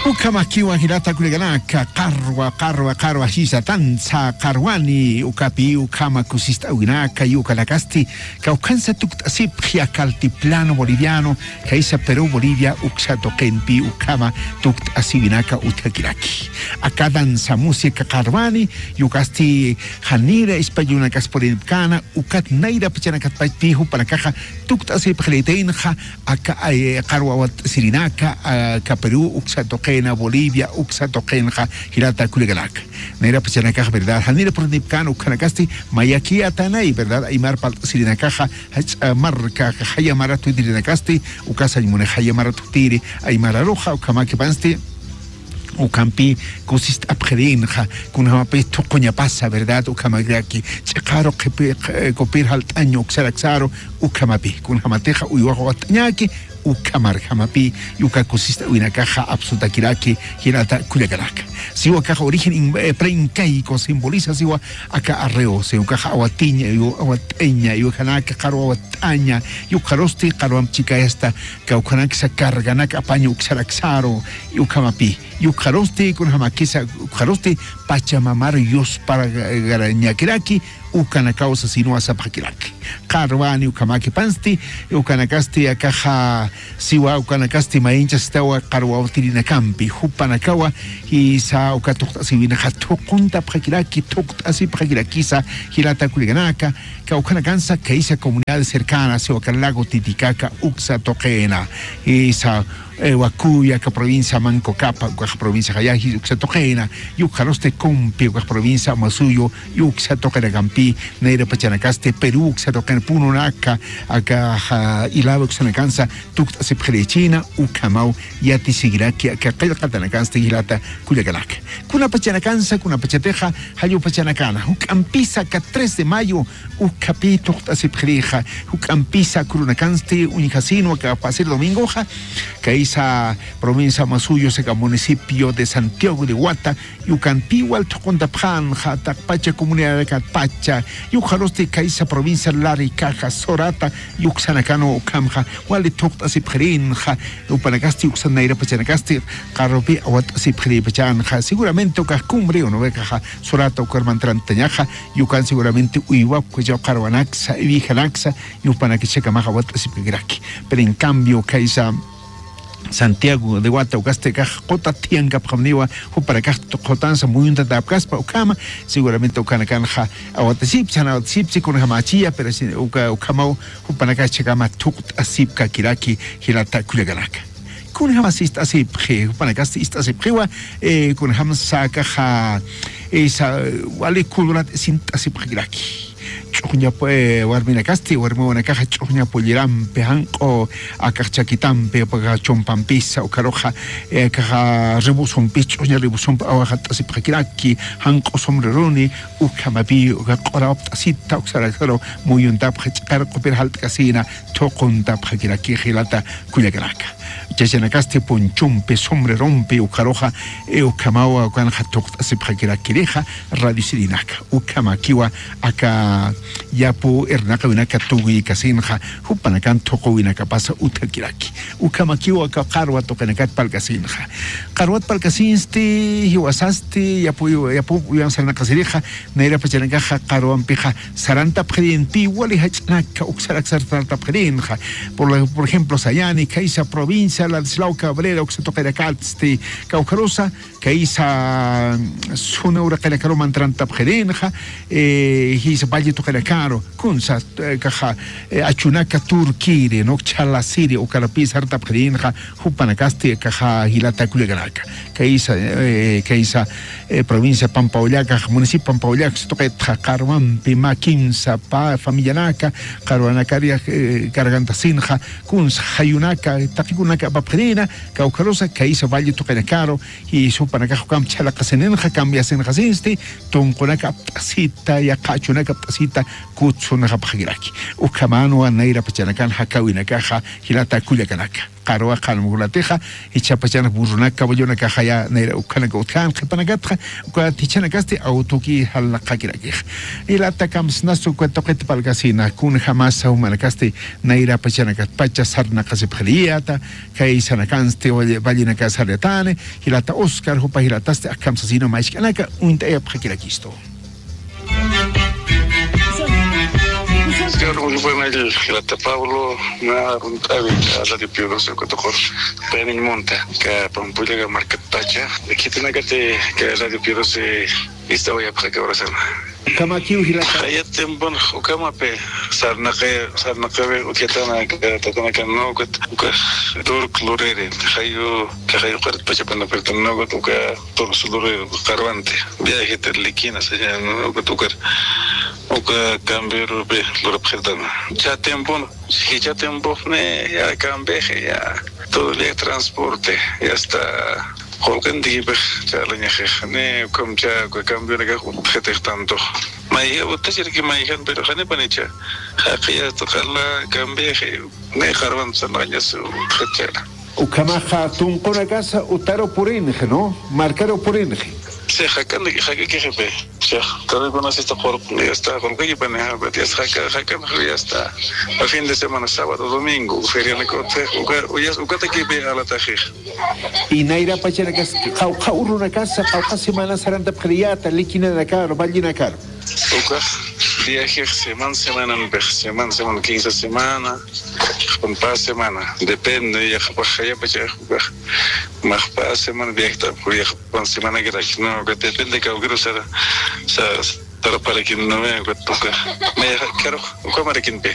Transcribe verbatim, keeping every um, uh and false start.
Ukhamakiwa jilata kullakanaka, qarwa, qarwa, qarwa, jisa tansa, qarwani, ukapi, ukhama kusist'awinaka, yukanakasti, kawkhansa tukt'asipxi aka altiplano boliviano, kaysa Perú Bolivia, uksa tuqinpi, ukhama tukt'asiwinaka utjakiraki. Aka danza música qarwani, yukasti, janira, ispallunakaspuripkana, ukat nayra pachanakat pachpi, jupanakaxa, tukt'asipxiritinxa, aka, eh, qarwa awat'asirinaka, aka Perú, uksa tuqina, Bolivia, uksa tuqinxa, jilata kullakanaka. Nayra pachanakax, ¿verdad? Janira purunipkana, ukhanakasti, mayakiyatanay, ¿verdad? Aymar palt'asirinakaxa, jach'a marka, jaya maratutirinakasti, ukasañ muni jaya maratutiri, aymararuxa, ukhamakipansti, ukhampi kusist'apxirinxa, kunjamapis thuquñapasa, ¿verdad? Ukhamakiraki, ch'iqaru qhipi-, qhi-, kupir jalt'aña uksaraksaru, ukhamapi, kunjamatixa uywax watt'añaki, ukhamarjamapi, yuka kusist'awinakaxa apsutakiraki, jilata kullakanaka. Siwa kaxa origen in-, eh, preincaico simboliza siwa aka arreo, siwa kaxa awatiña, yu-, awatt'aña, yukanaka qarwa awatt'aña, yukxarusti qarwamp chikayasta, kawkhanaksa carganak apaña uksaraksaru, ukhamapi, yukxarusti, kunjamakisa, ukxarusti, pachamamar yuspagarañakiraki, ukanakaw sasinwa sapxakiraki. Qarwani ukhamakipansti, ukanakasti akaxa siwa, ukanakasti mayinchastawa qarwa awtirinakampi, jupanakawa, jisa uka tuqt'asiwinaxa thuquntapxakiraki, thuqt'asipxakirakisa, jilata kullakanaka, kawkhanakansa kaysa comunidades cercanas, siwa aka lago Titicaca, uksa tuqina, jisa, eh, Wakuya, aka provincia Manco Capa, ukax provincia Jayaji, uksa tuqina, yukxarusti Compi, ukax provincia Amasuyo, uksa tuqinakampi, nayra pachanakasti Perú, uksa tuqina Pununaka, aka, ja, Ilave uksanakansa, tukt'asipxirichina, ukhamaw yatisikiraki, aka qillqatanakansti jilata kullakanaka. Kuna pachanakansa, kuna pachatixa, jallu pachanakana, juk'ampisa aka tres de mayo, ukhapi tuqt'asipxirixa, juk'ampisa kurunakansti uñjasinwa aka pasir domingoxa, kaysa provincia Amasuyo, aka municipio de Santiago de Huata, yukanpi wal thuquntapxanxa, taqpacha comunidadakatpacha, yukxarusti kaysa provincia Laricaja, Sorata, yuksanakanwa ukhamxa, wali thuqt'asipxirinxa, jupanakasti uksan nayra pachanakasti, qarrupi awat'asipxiripachanxa, seguramente ukax cumbre, uno vekaxa, Sorata ukar mantrantañaxa, yukan seguramente uywapkachaw qarwanaksa, iwijanaksa, yupanakachakamaxa awat'asipkakiraki. Pero en cambio, kaysa Santiago de Huata ukasti kax qutat thiyankapxamniwa, jupanakax qutansa muyuntatapkaspa ukhama, seguramente ukanakanxa awat'asipchi, jan awat'asipchi, kunjamachiya, pero si, uka, ukhamaw, jupanakax chakama thuqt'asipkakiraki, jilata kullakanaka. Kunjamas ist'asipxi, jupanakasti ist'asipxiwa, eh, kunjamsa akaxa, eh, sa, wali kulurat sint'asipxakiraki. Ch'uxña, eh, warminakasti, warmiwanakaxa ch'uxña pollerampi, janq'u akax chakitampi, akaxa chumpampisa, ukaruxa, eh, akaxa ribusumpis, ch'uxña ribusumpi awaxat'asipxakiraki, janq'u sombreroni, ukhamapi, uka q'urawapt'asita, uksaraksaraw muyuntapxa, ch'iqar q'upir jalt'kasina, thuquntapxakiraki, jilata kullakanaka. Chachanakasti ponchompi, sombrerompi, ukaruxa, eh, ukhamawa, ukanxa thuqt'asipxakirakirixa, radio sirinaka. Ukhamakiwa aka yapu irnaqawinaka tuwiykasinxa, jupanakan thuquwinakapasa utjakiraki. Ukhamakiwa aka qarwa tuqinakat parlkasinxa. Qarwat parlkasinsti, jiwasasti, yapu, yapu, uyan sarnaqasirixa, nayra pachanakaxa qarwampixa, sarantapxirinpi wali jach'anaka, uksarak sarantapxirinxa. Por la, por ejemplo, sayani, kaysa provincia, Ladislao Cabrera, uksa tuqinakatsti, kawkharusa, kaysa, mm, suna uraqinakaru mantrantapxirinxa, eh, jisa valle tuqinakaru, kunsa, eh, kaxa, eh, achunaka turkiri, no, chhalasiri, ukarapis sarantapxirinxa, jupanakasti, kaxa jilata kullakanaka. Kaysa, eh, kaysa, eh, provincia Pampaullaka, municipio Pampaullaka, tuqitxa qarwampi, mä kimsa, pa, familianaka, qarwanakari, eh, cargantasinxa, kunsa jayunaka, taqikunaka apapxirina, kawkharusa, kaysa valle tuqinakaru, y jupanakax ukham chhalaqasininxa, cambiasinxasinsti, tunqunaka apt'asita, yaqha achunaka apt'asita, kutsunxapxakiraki. Ukhamanwa nayra pachanakan jakawinakaxa jilata kullakanaka. Qarwa qanmuknatixa, jichha pachanaka burrunaka, caballonakaxaya nayra ukhanaka utjan qhipanakatxa, ukat jichanakasti awtuki jalnaqakirakixa. Jilata kamsnasa uka tuqit parlkasina, kunjamasa jumanakasti nayra pachanakat pacha sarnaqasipxiriyäta, kay sanakansti valle-, vallenaka sarnatani, jilata Oscar, jupa jilatasti akham sasina mä jisk'anaka uñt'ayapxakirakistu. Señor, muy buenas noches, jilata Pablo, mä arunt'äwi, Radio Pío doce, uka tuqur, payaniñ munta, aka Pampulaka markat pacha, khitinakati, aka Radio Pío doce, ist'awayapxi aka urasana. Ukhamakiw jilata. Jaya tiempon, ukhamapi, sarnaqi, sarnaqiwi, utjatana, aka tatanakan, ¿no? Ukat, uka, turk luriri, jayu, aka jayu qarit pachapan, ¿no? Ukat, uka, turk luriri, qarwanti, viaje de Liquina, se llama, ¿no? Ukat, uka, uka, cambio, rupi, lurapxirtana. Jichha tiempon, jichha tiempon, ne, ya, cambio, ya, todo el día transporte, ya está. Qullqintikipix chalañaxix, ni ukham chä, uka camionakax utjxitix tanto. Mayja utjachirki mayjan, pero janipanicha. Jaqi hasta qala cambiaxi, ni qarwan sarnaqañas utjachara. Ukhamaxa tunqunakasa utaru purinxi, ¿no? Markaru purinxi. Sí, jakan, jakakixipi. Chax, tarikunasista qullq-, hasta qullqikipani, ya está, jaka, jakan, ya está. A fin de semana, sábado, domingo, ferianaka utjix, uka, uka, ukatakipi alataxix. Y nayra pachanakas, qawqha urunakasa, qawqha semana sarantapxiriyäta, Liquinanakaru, vallenakaru. Ukax viajex semana semananpix, semana semana, quince semana, pä semana, depende, yaqhapax jayapachax, ukax, max pä semana viajtapxi, yaqhapan semanakiraki, ¿no? Uka depende, kawkiru sara, sa-, saraparakin, ¿no? Uka, ukax, mayjax, karux, ukhamarakinpi.